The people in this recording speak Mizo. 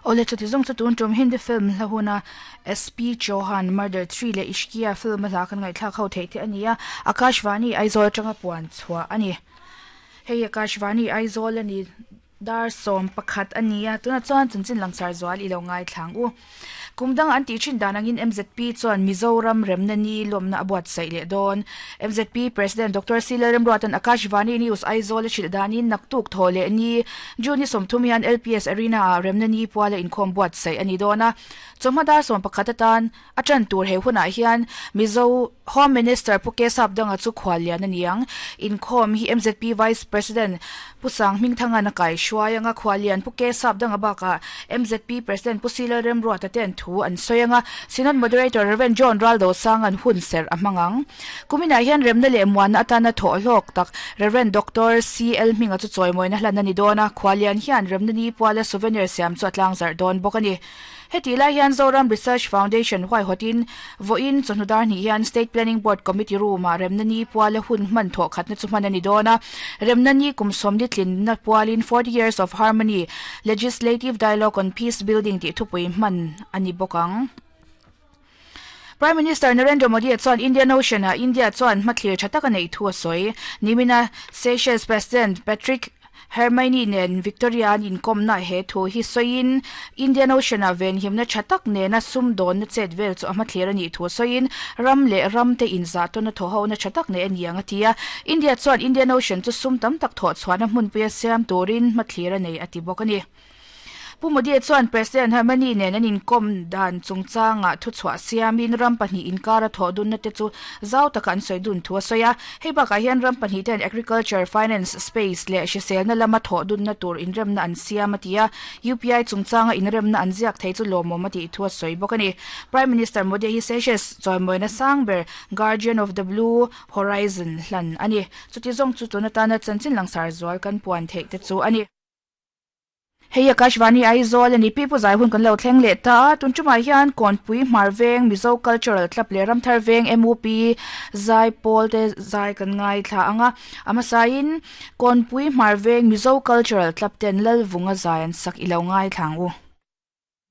Awle chuti zawng chu tun tum Hindi film hla huna SP Chauhan Murder 3 leh Ishqiya film a hla kan ngaihthlak ho theih te a ni a, Akashvani Aizawl atanga puan chhuah a ni. Hei Akashvani Aizawl a ni dar 11 a ni a, tunah chuan chanchin langsar zual i lo ngaithlang u. Kum dang an tih thin dan angin MZP chuan Mizoram remna ni lawmna a buatsaih leh dawn. MZP President Doctor C Lalremruatan Akashvani News Aizawl a hrilh danin naktuk thaw leh ni June ni 30 hian LPS Arena ah remna ni puala inkhawm buatsaih a ni dawn a. Chawhma dar 11 atan a tan tur he hunah hian Mizo Home Minister Pu Kesap Danga chu khual lian a ni ang. Inkhawm hi MZP Vice President Pu Sang Hmingthangan a kai hruai anga khual lian Pu Kesap Danga bakah MZP President Pu Silal Remruata te an thu an sawi anga Synod Moderator Rev John Raldo Sangan hun serh a hmang ang. Kuminah hian remna leh muanna atana thawh hlawk tak Rev Doctor CL Hminga chu chawimawina hlan a ni dawn a, khual lian hian remna ni puala souvenir siam chu a tlangzarh dawn bawk a ni. Hetih lai hian Zoram Research Foundation huaihawtin vawiin chawhnu dar hnih hian State Planning Board Committee Room-ah remna ni puala hun hman thawh khatna chu hman a ni dawn a. Remna ni kum sawmli tlinna pualin 40 Years of Harmony, Legislative Dialogue on Peace Building tih thupui hman a ni bawk ang. Prime Minister Narendra Modi chuan Indian Ocean-ah India chuan hmathlir tha tak a neih thu a sawi. Nimina Seychelles President Patrick Herminie nen Victoria an inkawmna he thu hi sawiin Indian Ocean-ah venhimna tha tak nena sumdawnna chet vel chu a hmathlir a nih thu sawiin ram leh ram te inzahtawn a thawhona tha tak nei a ni ang a ti a. India chuan Indian Ocean chu sum tam tak thawhchhuahna hmunpuia siam turin hmathlir a nei a ti bawk a ni. Pu Modi chuan President Hermani nen an inkawm dan chungchangah thuchhuah siamin ram pahnih inkara thawh dunna te chu zau taka an sawi dun thu a sawi a. Hei bakah hian ram pahnih ten agriculture, finance, space leh hriselna lama thawh dunna tur inremna an siam a ti a. UPI chungchanga inremna an ziak thei chu lawmawm a tih thu a sawi bawk a ni. Prime Minister Modi hi Seychelles chawimawina sang ber Guardian of the Blue Horizon hlan a ni. Chuti zawng chu tun atana chanchin langsar zual kan puan theih te chu a ni. Hei Akashvani Aizawl a ni Pi Pu Zai hun kan lo thleng leh ta a, tun tumah hian Kawnpui Hmar Veng Mizo Cultural Club leh Ramthar Veng MUP zai pawl te zai kan ngaithla ang a, a hmasain Kawnpui Hmar Veng Mizo Cultural Club ten Lalvunga zai an sak i lo ngaithla ang u.